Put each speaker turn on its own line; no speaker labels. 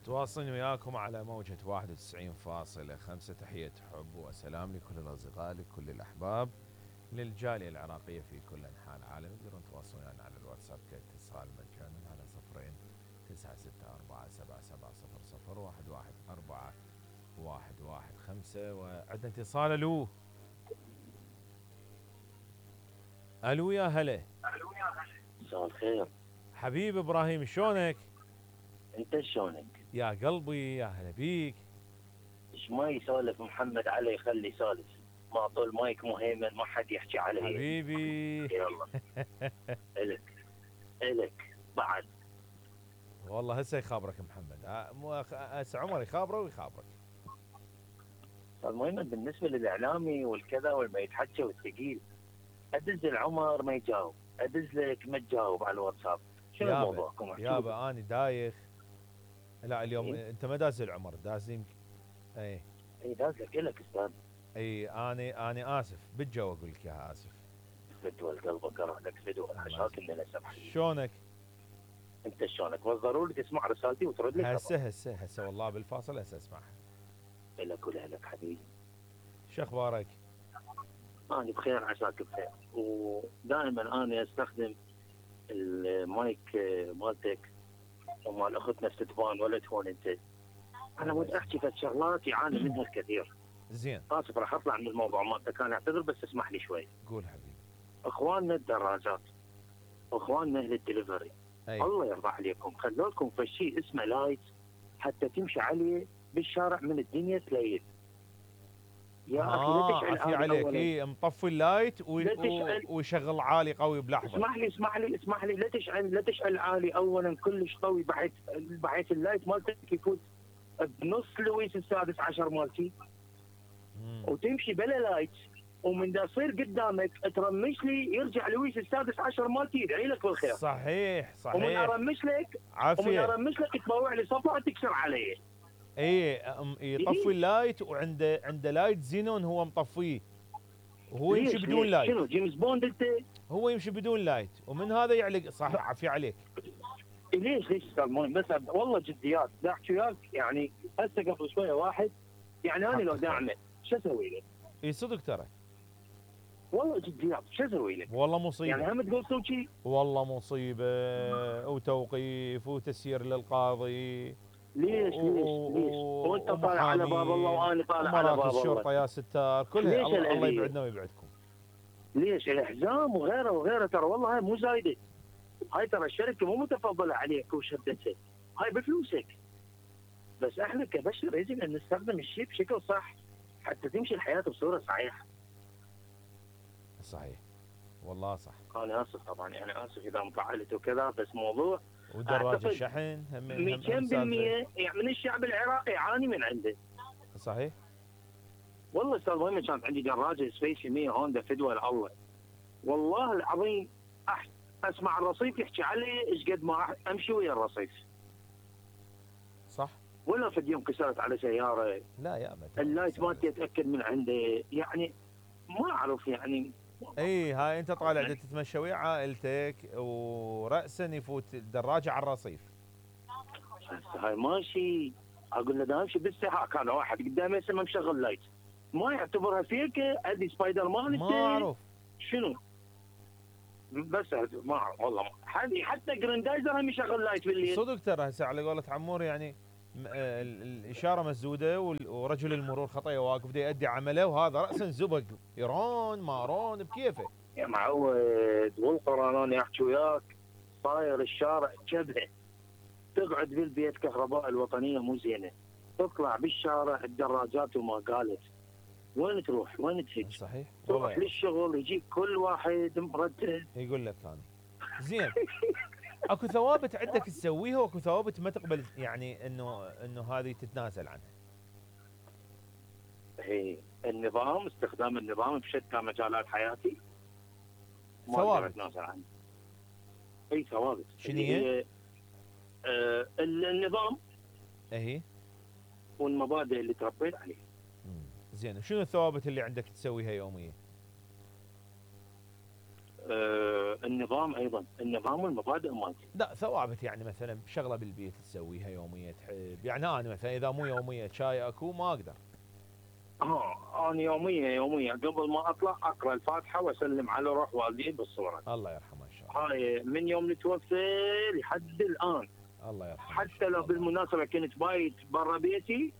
تواصلني وياكم على موجة 91.5. تحية حب وسلام لكل الأصدقاء لكل الأحباب للجالية العراقية في كل أنحاء العالم. تقدرون تواصلون يعني على الواتساب كاتصال مجانا على 0964777011415. وعندنا اتصال. ألو ألو يا هلا.
مساء الخير
حبيب إبراهيم، شلونك؟
انت شلونك؟
يا قلبي يا هلا بيك.
ايش ما يسولف محمد علي خلي يسولف، ما طول مايك مهيمن ما حد يحكي عليه
حبيبي.
يلا الك بعد
والله هسه يخابرك محمد، هسه عمر يخابره ويخابرك.
المهم بالنسبه للاعلامي والكذا والما يتحكى والثقيل، ادز العمر ما يجاوب، ادز لك ما تجاوب على الواتساب، شنو موضوعكم؟
يابا اني دايخ. لا اليوم
إيه؟
انت ما داز العمر، داز يمكن. اي
داز لك الك استاذ.
اي اني اسف بالجو اقول لك يا اسف.
فدوى قلبك اروح لك فدوى حشاك اني لا سمح.
شلونك؟
انت شلونك؟ بس ضروري تسمع رسالتي وترد لي.
هسه والله بالفاصل هسه اسمعها.
لك ولك حبيبي.
شو اخبارك؟
انا بخير عساك بخير، ودائما انا استخدم المايك مالتك ومال اختنا ستفان ولا تهون انت. انا ودي احكي في شغلات يعاني منها الكثير.
زين
اسف راح اطلع من الموضوع مالتك، انا اعتذر بس اسمح لي شوي.
قول حبيبي.
اخواننا الدراجات واخواننا اهل الدليفري، الله يرضى عليكم خلوا لكم في شيء اسمه لايت حتى تمشي عليه بالشارع من الدنيا تليل.
يا اخي لا تشعل عافية عليك. اي مطفي اللايت ويشغل عالي قوي بلحظه.
اسمح لي لا تشعل عالي اولا كلش قوي بحيث اللايت مالتك يفوت بنص لويس السادس عشر مالتي وتمشي بلا لايت، ومن دا يصير قدامك ترمش لي يرجع لويس السادس عشر مالتي يدعي لك بالخير.
صحيح
ومن ارمش لك
عافيه
ومن ارمش لك تطوع لي صفعه تكسر علي.
اي يطفي اللايت وعنده لايت زينون هو مطفيه وهو يمشي بدون لايت.
شنو جيمس بوند انت؟
هو يمشي بدون لايت ومن هذا يعلق. صح عافيه عليك.
ليش بس والله جديات لا احكي وياك. يعني هسه قبل شويه واحد يعني انا لو داعمه شو اسوي له؟
اي صدق ترى
والله جديات شو اسوي لك؟
والله مصيبه.
يعني هم تقول سوي شيء؟
والله مصيبه وتوقيف وتسيير للقاضي.
ليش وانت طالع على باب الله وانا طالع على باب الله.
الشرطه يا ستار كلها. الله يبعدنا ويبعدكم.
ليش الاحزام وغيره ترى والله هاي مو زايده. هاي ترى الشركه مو متفضله عليك وشدتها، هاي بفلوسك. بس احنا كبشر يجب ان نستخدم الشيء بشكل صح حتى تمشي الحياه بصوره صحيحه.
صحيح والله صح.
انا اسف طبعا، يعني اسف اذا انفعلت وكذا، بس موضوع
ودراجة الشحن
200% يعني من الشعب العراقي يعاني من عنده.
صحيح
والله استاذ مهم كانت عندي دراجه سبيشي 100 هوندا فدوى الله والله العظيم اسمع الرصيف يحكي علي ايش قد ما امشي ويا الرصيف.
صح
ولا في يوم كسرت على سياره.
لا يا ابد
اللايت مالتي اتاكد من عنده، يعني ما اعرف يعني.
اي هاي انت طالع تتمشى ويا عائلتك وراسا يفوت الدراجه على الرصيف.
هاي ماشي اقول له دا امشي بالسحاق، كان واحد قدامي هسه ما مشغل لايت، ما يعتبرها فيك ادي سبايدر مان.
ما اعرف
شنو بس ما اعرف والله. حتى جراندايزر هم يشغل لايت بالليل.
صدق ترى هسه على قولة عمور يعني الاشاره مسدوده ورجل المرور خطيه واقف دا يؤدي عمله وهذا راسا زبق يرون مارون بكيفه
يا معود. والقرانون يحكي وياك صاير الشارع جبهه، تقعد بالبيت كهرباء الوطنيه مو زينه، تطلع بالشارع الدراجات وما قالت وين تروح وين تهج.
صحيح
تروح للشغل يجيك كل واحد مرتب
يقول لك انا زين. اكو ثوابت عندك تسويها واكو ثوابت ما تقبل يعني انه هذه تتنازل عنها.
هي النظام، استخدام النظام بشتى مجالات حياتي
ثوابت
تتنازل عنها. اي ثوابت.
شنو هي؟
النظام
اهي
والمبادئ اللي تربيت عليها.
زين شنو الثوابت اللي عندك تسويها يوميا؟
النظام ايضا، النظام والمبادئ مالتي.
لا ثوابت يعني مثلا شغله بالبيت تسويها يوميه تحب، يعني انا مثلا اذا مو يوميه شاي اكو ما اقدر.
انا يوميه قبل ما اطلع اقرا الفاتحه واسلم على روح والدي بالصوره.
الله يرحمه ان شاء الله.
هاي من يوم اللي توفى لحد الان.
الله يرحمه
حتى لو بالمناسبه كنت بايت برا بيتي